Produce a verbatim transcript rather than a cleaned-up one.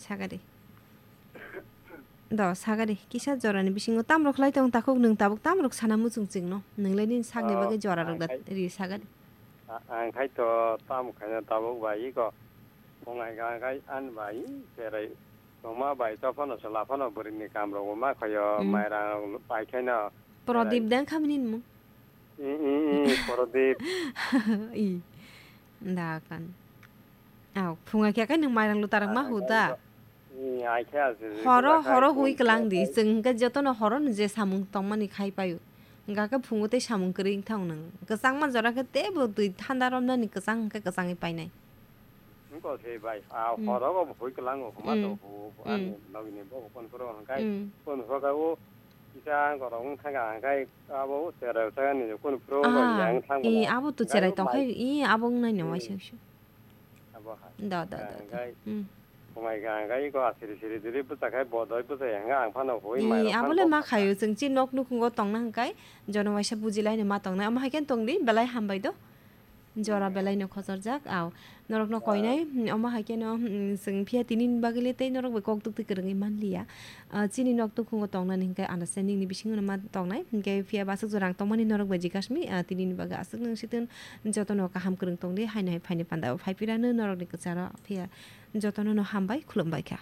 Sagadi. Do, sagadi. Kisa jorani bisingo tamrok khlai tong takhuk nwng tabuk tamrok sana muchung chwngno. Nwng lai nini sakni bagwi jora rok da ri sagadi. A-, ang khai to tamo khaina tabuk bai iko. Phungai ga khai an bai cherai tongma bai to phano chwla phano bwrwini kam rok ma khayo. Mm. Mairang rok pai khaina. Prodip cherai. Deng khamni nimo. I, i, i, Prodip. I. Da kan. Aw, phunga khe kai nwng mairang lutarak ma hu da? Horo, horo hui kwlang di. Chwng hwnkhe jotono horo ni je samung tongmani khai paio. Hwnkha khe phungo tei samung kwrwi wngthang nwng. Kwchangma jora khe teibo twi thanda romnani kwchang hwnkhe kwchangwi painai. Wngkha se bai. A horo go hui kwlango huma to hu ani nogini bo kon phoro hwnkhe kon phoro khe o kisa gorok wngkha hwnkhe abo cherai thangani kon phoro yang thang. Abo to cherai tongkhai, i abo wngnai no waisa. Abo hai. Da, da, da, da. Hwnkhe khumai ga hwnkhe iko asiri siri diri bwchakhai bodoi bwchai hwnkhe ang phano hui mai rok phano. Abole ma khaio chwng chi nok nukhungo tongna hwnkhe jono waisa bujilaini ma tongnai. Omo hai khe tongdi belai hambai do. Jora belai no khojorjak, aw. Norok no koinai, omo hai khe no, chwng phiya tini ni bagwi le tei norok bai kok tuk twi kwrwngwi manliya. Ah, chini nok tukhungo tongnani hwnkhe understanding ni bisingo no ma tongnai. Hwnkhe phiya bo aswk jora ang tongmani norok bai jikasmi, ah, tini ni bagwi aswk nwng situng jotono kaham kwrwng tongdi, haino hai phaini panda o phai phirano norok ni kwcharo phiya jotono no hambai khulumbai kha.